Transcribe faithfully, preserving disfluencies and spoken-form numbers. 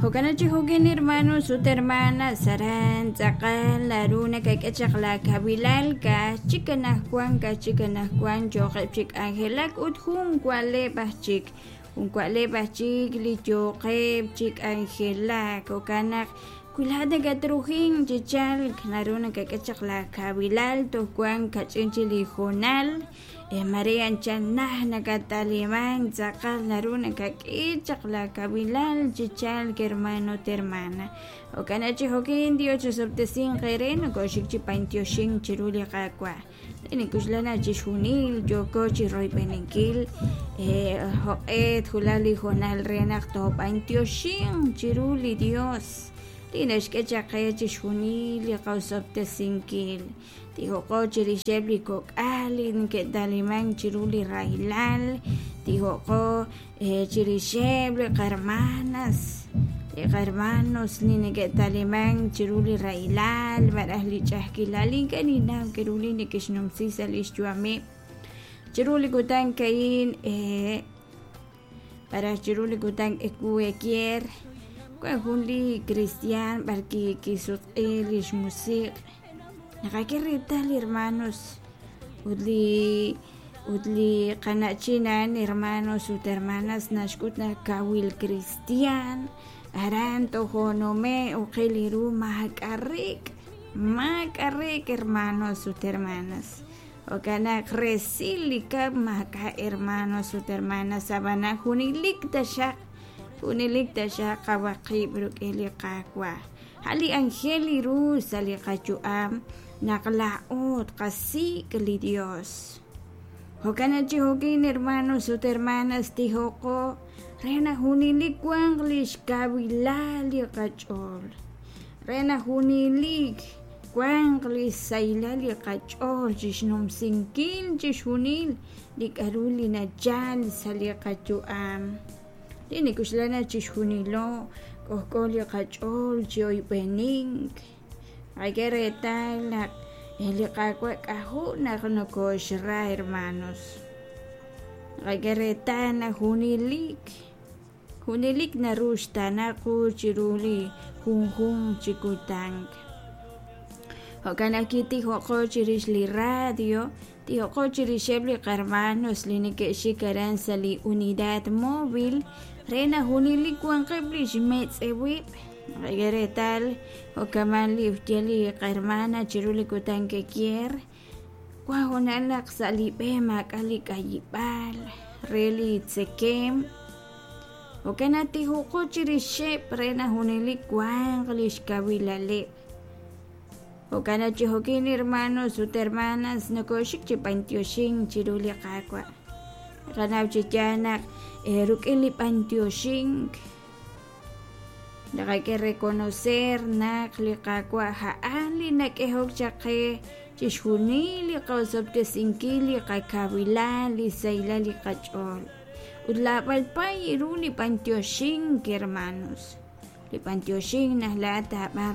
Jo'kan chi jo'kin hermanos ut hermanas aran tz'aqal naru nakak'e chaq la kawilal ka'aj chik anaqwan ka'aj chik anaqwan yooqeb' chi k'anjelak ut jun wa'leb' aj chik jun wa'leb' aj chik li yooqeb' chi k'anjelak jo'kan naq wi laa'at nakatrujink chi chalk naru nakak'e chaq la kawilal toj wan kach'in chik li hoonal mare anchal naj nakatalimank tz'aqal naru nakak'e chaq la kawilal chi chalk hermano ut hermana jo'kan chi jo'kin Dios chisob'tesinq eere nokoxik chi b'antioxink chiru li Qaawa' nikuxlana chixjunil yooko chi royb'eninkil joq'e twulaq li hoonal re naq toob'antioxinq chiru li Dios li naxk'e chaq qe chixjunil li qaosob'tesinkil tijoqo chirixeb' li kok'al li neke'talimank chiru li rahilal tijoqo chirixeb' li qarmanas li qarmanos li neke'talimank chiru li rahilal malaj li ch'a'ajkilal ink'a' ninnaw k'aru li neke'xnumsi sa' li xyu'ameb' chiru li kutan ka'in malaj chiru li kutan ewu ekier wan jun li cristian b'ar kisutq'i li xmusiq' naqak'e reetal hermanos ut li ut li qana'chin a'an hermanos ut hermanas naxk'ut naq kawil cristian aran tojonume' uqil ru maak'a' reek' maak'a' reek' hermanos ut hermanas jo'kan naq resil li kab' maak'a' hermanos ut hermanas ab'anan junelik taxaq junelik taxaq qawaqib' rik'in li Qaawa' a' li anjel li ru sa' li qayu'am naq laa'o tqasik' li Dios jo'kan chi jo'kin hermanos ut hermanas tijoqo re naq junelik wanq li xkawilal li qach'ool re naq junelik wanq li xsahilal li qach'ool chixnumsinkil chixjunil li k'aru li nachal sa' li qayu'am li nikuxlana chixjunilo k'ojk'o li qach'ool chi oyb'enink qak'e reetal naq li Qaawa' k'ajo' naq nokoxra hermanos qak'e reetal naq junelik junelik naru xtaana qu chiru li junjunq chi kutan jo'kan naq kitijoqo chirix li radio tijoqo chirixeb' li qarmanos li neke'xik aran sa' li unidad móvil re naq junelik wanqeb' li xmetz'ewib' qak'e reetal jo'kaman li xye li qarmana chiru li kutan kekier wan hoonal naq sa' li b'e maak'a' li k'ayib'aal re li tzekem jo'kan naq tijoqo chirixeb' re naq junelik wanq li xkawilaleb' jo'kan naq chi jo'kin hermanos ut hermanas nokoxik chi b'antioxink chiru li Qaawa' qanaw chi yaal naq rik'in li b'antioxink naqak'e reconocer naq li Qaawa' a'an li nak'ehok chaq qe chixjunil li qaosob'tesinkil li qakawilal li sahilal li qach'ool ut laab'al pay ru li b'antioxink hermanos li b'antioxink naq laa'at taab'an